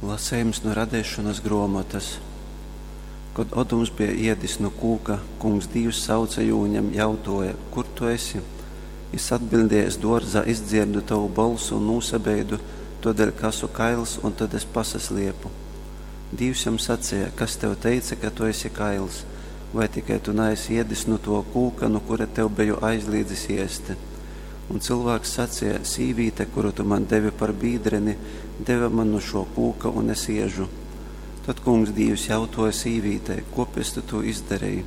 Lasejums nu Radeišonas gruomotas. Kod Odums beja iedis nu kūka, Kungs Dīvs sauce jū un jam jautuoja: Kur tu esi? Jis atbiļdēja: Es duorzā izdzierdu tovu bolsu un nūsabeidu, tuodeļ ka asu kails, un tod es pasasliepu. Dīvs jam saceja: Kas tev teice, ka tu esi kails? Vai tikai tu naesi iedis nu tuo kūka, nu kura tev beju aizlīdzis iesti? Un cylvāks saceja: Sīvīte, kuru tu man devi par bīdreni, deve man nu šuo kūka, un es iežu. Tod Kungs Dīvs jautuoja sīvītei: Kuopēc tu tū izdareji?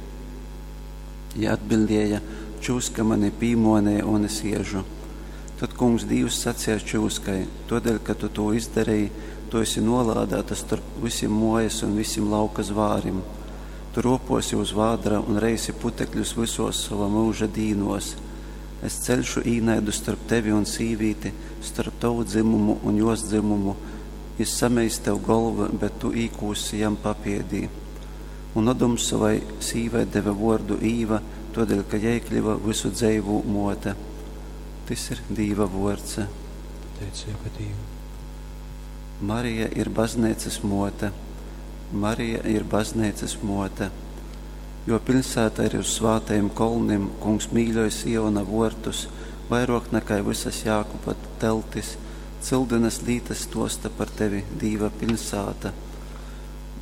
Jei atbiļdēja: Čyuska mani pīmuoneja, un es iežu. Tod Kungs Dīvs saceja čyuskai: Tuodeļ, ka tu tū izdareji, tu esi nolādāta storp vysim muojas un vysim lauka zvārim. Tu ruopuosi uz vādara un reisi putekļus vysuos sova myuža dīnuos. Es ceļšu īnaidu storp tevi un sīvīti, storp tovu dzymumu un juos dzymumu, jis sameis tev golvu, bet tu īkūssi jam papiedī. Un Odums sovai sīvai deve vuordu Īva, tuodeļ ka jei kļiva vysu dzeivū muote. Tys ir Dīva vuords. Pateiceiba Dīvam. Marija ir Bazneicys muote. Marija ir Bazneicys muote. Juo piļsāta ir uz svātajim kolnim, Kungs mīļoj Siona vuortus vairuok nakai vysas Jākuba teltis, cyldynas lītas stuosta par tevi, Dīva piļsāta.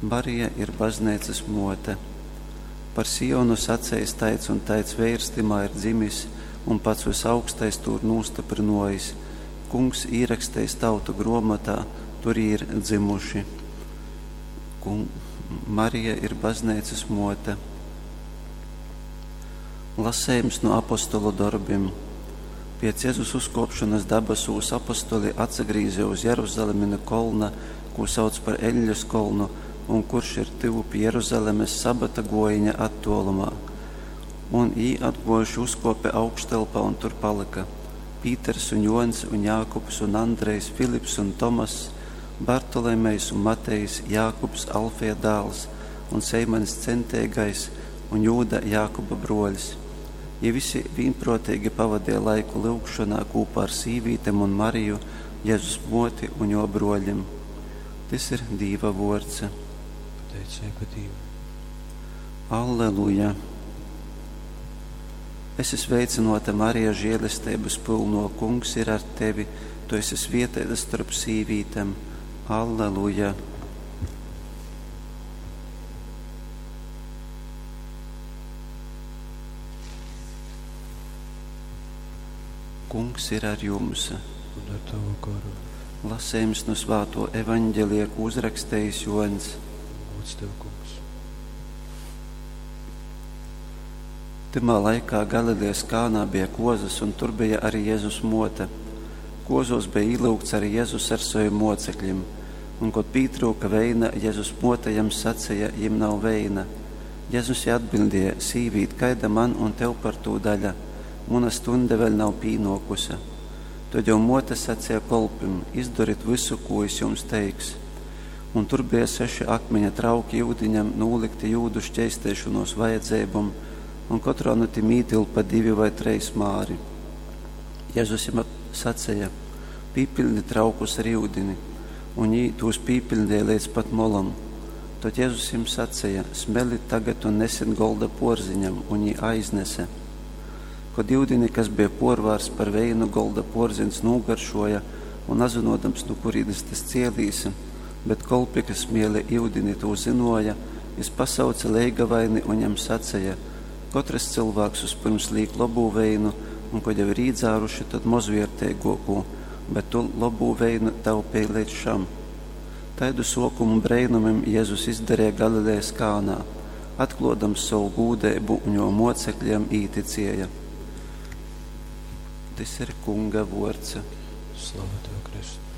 Marija ir Bazneicys muote. Par Sionu saceis taids un taids veirs tymā ir dzimis, un pats Vysaugstais tū ir nūstyprynuojis, Kungs īrakstejis tautu gruomotā, tur jī ir dzymuši. Kung... Marija ir Bazneicys muote. Lasejums nu Apostolu dorbim. Piec Jezus uzkuopšonys dabasūs apostoli atsagrīze uz Jeruzalemi nu kolna, kū sauc par Eļļas kolnu un kurš ir tyvu pi Jeruzalemes sabata guojiņa attuolumā. Un jī atguojuši uzkuope augštelpā un tur palyka. Pīters un Juoņs un Jākubs un Andrejs, Filips un Tomass, Bartolomejs un Matejs, Jākubs, Alfeja dāls un Seimaņs Centeigais un Jūda, Jākuba bruoļs. Jī visi vīnpruoteigi pavadeja laiku lyugšonā kūpā ar sīvītem un Mariju, Jezus muoti un juo bruoļim. Tys ir Dīva vuords. Pateiceiba Dīvam. Alleluja! Esi sveicynuota, Marija, žielesteibys pylnuo, Kungs ir ar tevi, tu esi svieteita storp sīvītem. Alleluja! Kungs ir ar jums. Un ar tavu goru. Lasejums nu svātuo Evaņgelija, kū uzrakstejis Juoņs. Gūds tev, Kungs. Tymā laikā Galilejas Kānā bija kuozas, un tur bija arī Jezus muote. Kuozuos bija īlyugts arī Jezus ar savim mocekļim. Un, kod pītryuka veina, Jezus muote jam saceja, jim nav veina. Jezus jai atbildēja, sīvīt, kaida man un tev par tū daļa? Muna stunde vēļ nav pīnuokuse. Tod juo muote saceja kolpim, Izdorit vysu, kū jis jums teiks. Un tur beja seši akmiņa trauki yudiņam, nūlykti jūdu škeisteišonuos vajadzeibom, un kotrā nu tim ītylpa divi vai treis māri. Jezus jim saceja, Pīpiļdit traukus ar yudini. Un jī tūs pīpiļdeja leidz pat molom. Tod Jezus jim saceja, Smelit tagad un nesit golda puorziņam, un jī aiznese. Kod yudini, kas beja puorvārsts par veinu, golda puorziņs nūgaršuoja un nazynuodams, nu kurīnes tys cielīs, bet kolpi, kas smiele yudini, tū zynuoja, jis pasauce leigavaini un jam saceja, Kotrys cylvāks vyspyrms līk lobū veinu, un kod jau ir īdzāruši, tod mozvierteiguokū, bet tu lobū veinu taupēji leidz šam. Taidu suokumu breinumim Jezus izdareja Galilejas Kānā, atkluodams sovu gūdeibu, un juo muocekļi jam īticieja. Tys ir Kunga vuords. Slava tev, Kristu.